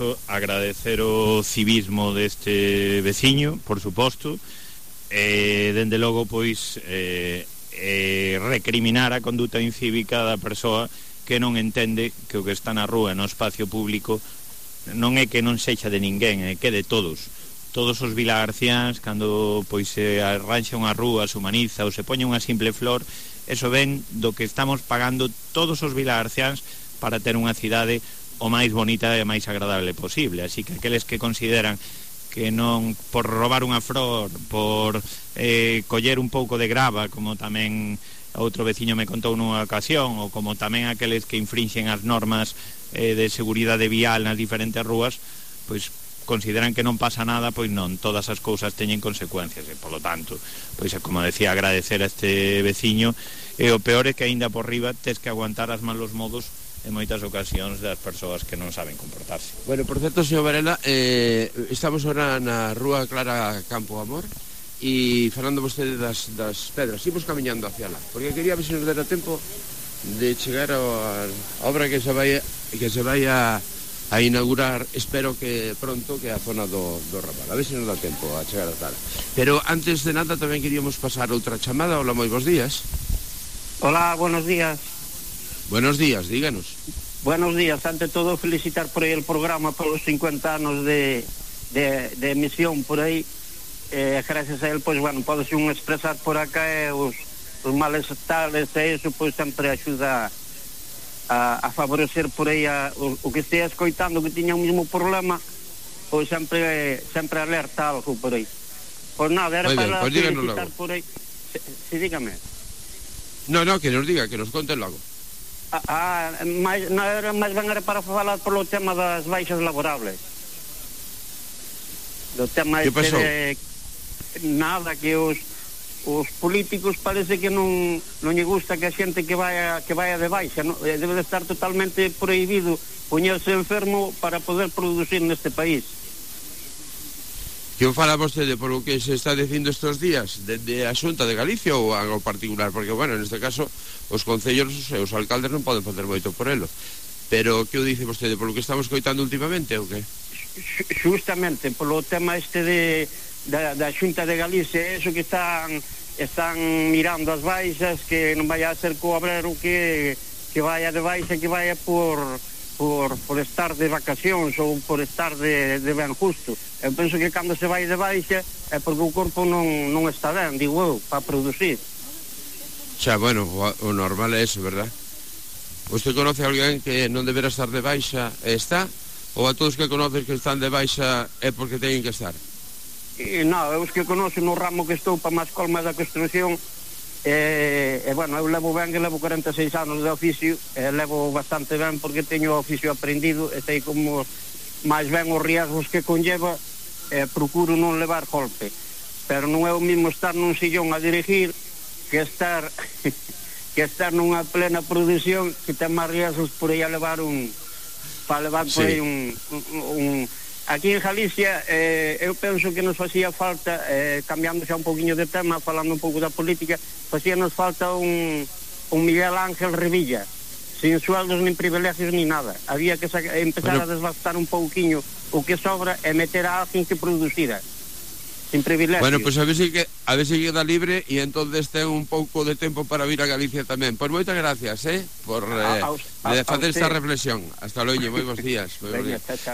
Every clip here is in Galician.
caso, agradecer o civismo deste veciño, por suposto, dende logo, pois, recriminar a conduta incívica da persoa que non entende que o que está na rúa, no espacio público, non é que non sexa de ninguén, é que de todos os vilagarciáns, cando pois se arranxa unha rúa, se humaniza ou se poñe unha simple flor, eso ven do que estamos pagando todos os vilagarciáns para ter unha cidade o máis bonita e máis agradable posible. Así que aqueles que consideran que non, por robar unha flor, por coller un pouco de grava, como tamén outro veciño me contou nunha ocasión, ou como tamén aqueles que infrinxen as normas de seguridade vial nas diferentes rúas, pois consideran que non pasa nada, pois non, todas as cousas teñen consecuencias, e polo tanto, pois como decía, agradecer a este veciño, e o peor é que aínda por riba tes que aguantar as malos modos en moitas ocasións das persoas que non saben comportarse. Bueno, por certo, señor Varela, estamos ahora na rúa Clara Campo Amor e falando vostede das pedras, imos camiñando hacia lá, porque quería ver se nos dera tempo de chegar a obra que se vai a inaugurar, espero que pronto, que é a zona do Raval. A ver se nos dá tempo a chegar a tal. Pero antes de nada tamén queríamos pasar outra chamada. Hola, moi bons días. Hola, buenos días. Buenos días, díganos. Buenos días, ante todo felicitar por aí el programa polos 50 anos de emisión por aí. Gracias a él, pois, bueno, podes un expresar por acá os males tales e iso, pois, sempre axuda a favorecer por aí o que estea escoitando que tiña o mesmo problema, pois sempre alerta algo por aí. Pois nada, era para felicitar por aí. Sí, dígame. No, que nos diga, que nos conte logo. Mais ben era para falar polo tema das baixas laborables. Do tema que pasou? Nada, que os políticos parece que non lle gusta que a xente que vaya de baixa, non? Debe de estar totalmente prohibido poñerse enfermo para poder producir neste país. Que o fala vostede por o que se está dicindo estes días de a Xunta de Galicia ou algo particular? Porque, bueno, neste caso os concellos e os alcaldes non poden facer moito por elo, pero que o dice vostede por o que estamos coitando últimamente ou que? Justamente polo tema da Xunta de Galicia, eso que están mirando as baixas, que non vaya a ser co obrero que vaya de baixa, que vaya por estar de vacacións ou por estar de ben justo. Eu penso que cando se vai de baixa é porque o corpo non está ben, digo eu, para producir. Xa, bueno, o normal é eso, verdad? Você conoce a alguén que non deberá estar de baixa e está? Ou a todos que conoces que están de baixa é porque teñen que estar? Non, eu os que conoce no ramo que estou para máis colma da construcción, bueno, eu levo 46 anos de oficio, levo bastante ben porque teño o oficio aprendido e sei como máis ben os riesgos que conlleva, procuro non levar golpe, pero non é o mismo estar nun sillón a dirigir que estar nunha plena produción que ten máis riesgos por aí a levar por aí un aquí en Galicia, eu penso que nos facía falta, cambiando xa un poquinho de tema, falando un pouco da política, facíanos falta un Miguel Ángel Revilla, sin sueldos, nin privilegios, nin nada. Había que empezar a desbastar un pouquiño o que sobra e meter a alguén que producira, sin privilegios. Bueno, pois a ver se queda libre e entonces ten un pouco de tempo para vir a Galicia tamén. Pois moitas gracias, por facer esta reflexión. Hasta logo, moi bons días.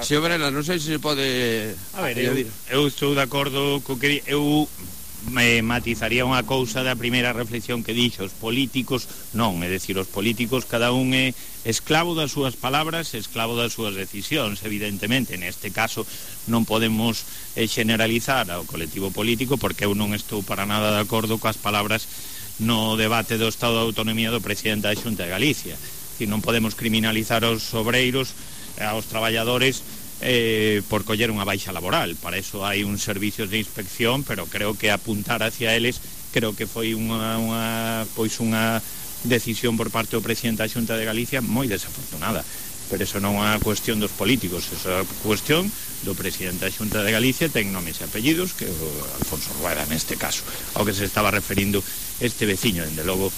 Señor Varela, non sei se pode... A ver, eu estou de acordo co que... Eu me matizaría unha cousa da primeira reflexión que dixo. Os políticos non, é dicir, os políticos cada un é esclavo das súas palabras, esclavo das súas decisións, evidentemente. Neste caso non podemos generalizar ao colectivo político, porque eu non estou para nada de acordo coas palabras no debate do Estado de Autonomía do presidente da Xunta de Galicia. Non podemos criminalizar aos obreiros, aos traballadores, por coller unha baixa laboral. Para eso hai un servicios de inspección, pero creo que apuntar hacia eles creo que foi unha decisión por parte do presidente da Xunta de Galicia moi desafortunada, pero eso non é unha cuestión dos políticos, eso é unha cuestión do presidente da Xunta de Galicia, ten nomes e apellidos, que é o Alfonso Rueda neste caso, ao que se estaba referindo este veciño. Dende logo,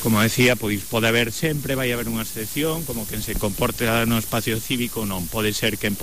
como decía, pois pode haber sempre, vai haber unha excepción, como quen se comporte no espacio cívico, non pode ser que en